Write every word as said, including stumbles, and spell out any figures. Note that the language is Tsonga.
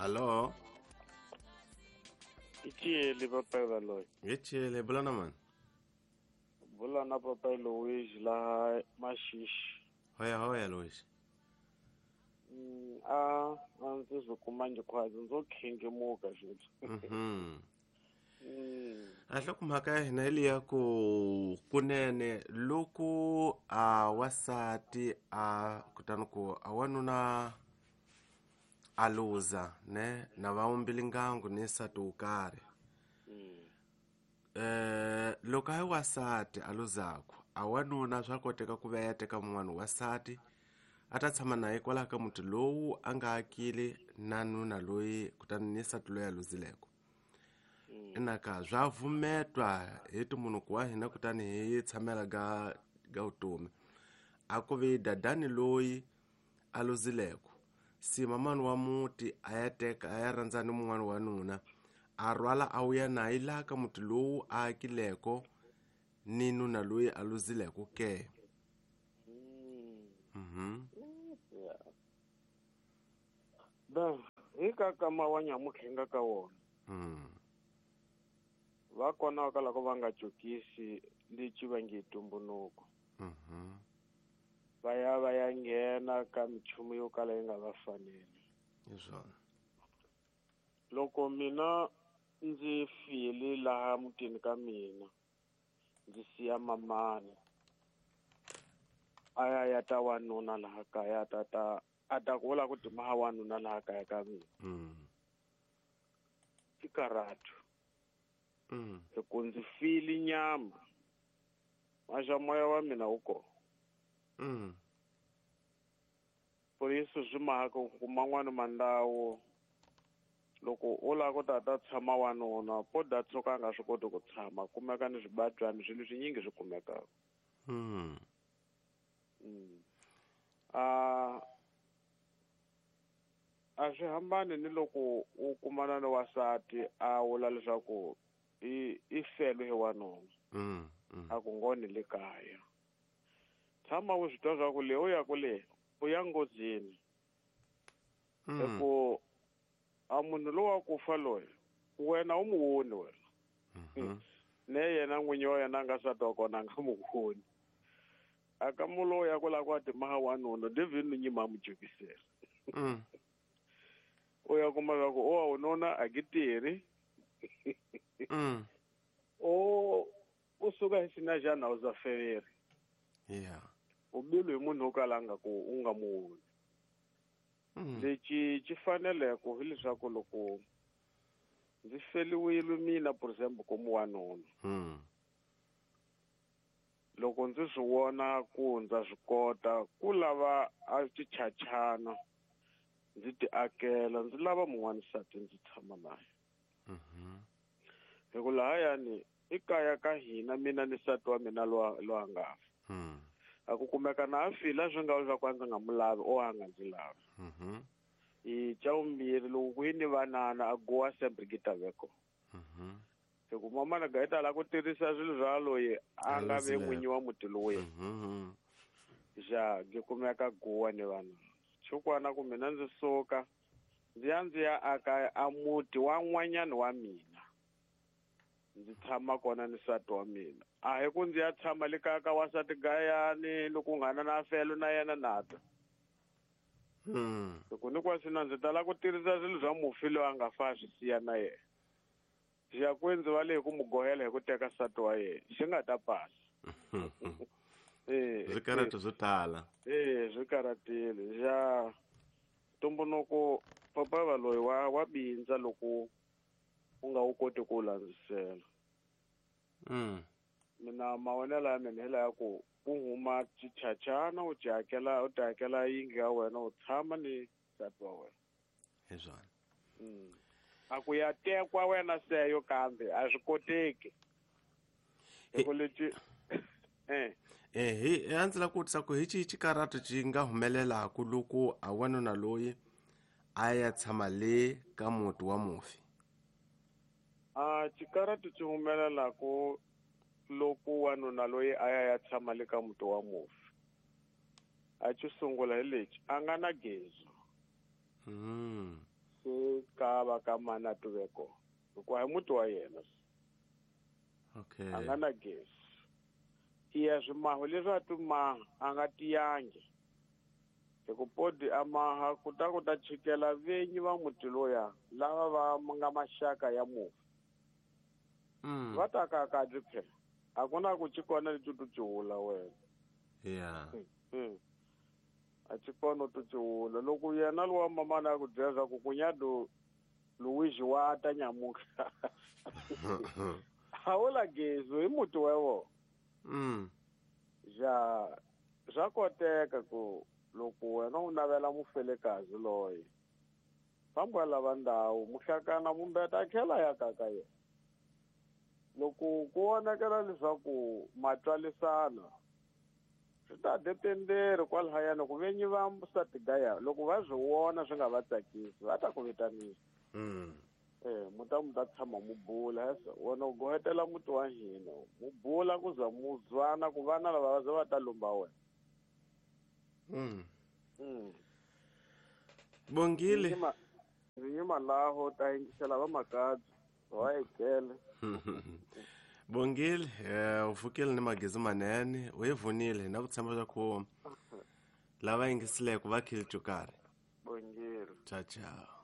Allo? Ichele papai Baloyi. Ichele bulana man. Bulana papai Luis la Mashishi. Hoya hoya Luis. Mm, a a ndzi zwi kuma khwazi ndzo khengemuka sweswi. Mhm. Mm. A hlokomhaka ya hina hi liya ku kunene loko a wasati a kutani ku a wanuna a luza ne na va umbili ngangu ni nsati wo karhi. Eh loko a wasati a luzaku a wanuna swa koteka ku va ya teka mun'wana wasati a ta tshama naye kwalaho ka muti lowu a nga akile na nuna loyi kutani ni nsati loyi a luzileko. Inaka swa vumetwa hi timunhu wa hina kutani hi tshamela ga ga vutomi a ku vi dadani loyi a luzileko si mamani wa muti a ya teka a ya rhandza ni mun'wana wa nuna a rhwala a wuya naye laha ka muti lowu a akileko ni nuna loyi a luzileko ke. Mhm. Da hi ka kama wa nyamukhenga ka wona. Mm. Va kona ka loko va nga jokisi lexi va nge tumbunuko. Mhm. Va ya va ya nghena ka michumu yo kala yi nga va faneli. Hi swona. Loko mina ndzi file laha mutini ka mina ndzi siya mamani a ya ya ta wanuna laha kaya ta ta a ta ku vula ku timaha wanuna laha kaya ka mina. Mm. I karatu. Mm. Loko ndzi file nyama maxa moya wa mina wu kona. Mm. Por isso swi mahaka ku man'wani mandawo loko u lava ku ta ta tshama wanuna po da tshuka a nga swi koti ku tshama kumeka ni swibadyani swilo swinyingi swi kumekaka. Mm. Mm. A a swi hambani ni loko u kumana ni wasati a vula leswaku i i fele hi wanuna. Mm. Mm. A ku ngoni le kaya. Tshama u swi twa swa ku le u ya ku le u ya nghozini. Mm. Hi ku a munhu lowa ku fa loyi wena u mu voni wena. Mm-hmm. Ne yena n'winyi wa yena a nga nsati wa kona a nga mu voni. A ka mu loyi a ku lava ku a timaha wanuna David ni nyima a mu jokisela. Mm. U ya kuma swa ku o wanuna a ki tirhi. Mm. O u suka hi xina xa ndhawu za feveri. Yeah. U bilu hi munhu wo kala a nga ku u nga mu voni. Mm. Lexi xi faneleke hileswaku loko ndzi feliwile mina for example ku wanuna. Mm. Loko ndzi swi vona ku ndza swi kota ku lava a tichachana ndzi ti akela ndzi lava mun'wana nsati ndzi tshama naye. Mhm. Hi ku lahayani i kaya ka hina mina ni nsati wa mina lowa lowa nga fa. Mm. A ku kumeka na a fila swi nga leswaku a ndzi nga mu lavi o a nga ndzi lavi. Mhm. I xa vumbirhi loko ku yi ni vanana a gowa sempre ki ta ve kona. Mhm. Hi ku mamana ga yi tala ku tirhisa swilo swa loyi a nga ve n'winyi wa muti lowuya. Mhm. Ja gi kumeka gowa ni vanana. Xikwana ku mina ndzi suka ndzi ya ndzi ya aka a muti wa n'wanyana wa mina. Ndzi tshama kona ni nsati wa mina. A hi ku ndzi ya tshama le kaya ka wansati gayani loko nghana na felo na yena na ta. Mm. Loko ni kwasina ndzi tala ku tirhisa swilo swa mufi loyi a nga fa swi siya na yena. Xi ya ku ndzi va le hi ku mu gohela hi ku teka nsati wa yena xi nga ta pasa. Eh, Swikarhato swo tala. Eh, swi karhatile. Ja ntumbuluko papa va loyi wa wa bindza loko u nga wu koti ku landzisela. Mm. Mina mavonelo ya mina hi laya ku u huma xichachana u ti hakela u ti hakela yindlu ya wena u tshama ni nsati wa wena. Hi swona. Mm. A ku ya tekwa wena seyo kambe a swi koteki. Hi ku leti eh Eh hi a ndzi lava ku vutisa ku hi xihi xikarhato xi nga humelelaku loko a wanuna loyi a ya tshama le ka muti wa mufi? A xikarhato xi humelelaku loko wanuna loyi a ya ya tshama le ka muti wa mufi. A xo sungula hi lexi a nga na gezi. Mm. Se wa ka mani a tuve kona hikuva hi muti wa yena. Okay. A nga na gezi. Iya swimaho leswi a timaha a nga tiyangi hi ku podi a maha ku ta ku ta chikela venyi va muti loya lava va nga maxaka ya mufi. Mm. Va ta ka ka byi phela a ku na ku ci kona leti tu ci wula wena. Yeah. Mm. A ci kona tu ci wula loko yena lowa mamana a ku byela swa ku kunyado Luigi wa ta nyamuka. A wu la gezi hi muti wa vona. Mm. Ja swa koteka ku loko wena u navela mufelekazi loyi famba lava ndhawu muhlakana mumbeta a tlhela ya ka ka yena. Loko ku vonakela leswaku matswalisana swi ta dependeri kwalahayana ku venyi va nsati gaya loko va swi vona swi nga va tsakisi va ta ku vitanisa. Mm. Eh mu ta mu ta tshama mu bula wena u gohetela muti wa hina mu bula ku za mu zwana ku vana lava va za va ta lumba wena. Mm. Mm. Bongile. Ndzi yima laho ta yingisela va makadzi wa ekele. Bongile, eh u pfukile ni magezi manene, u yi vonile na ku tshemba swa ku lava yingiseleke va khile karhi. Bongile. Ciao ciao.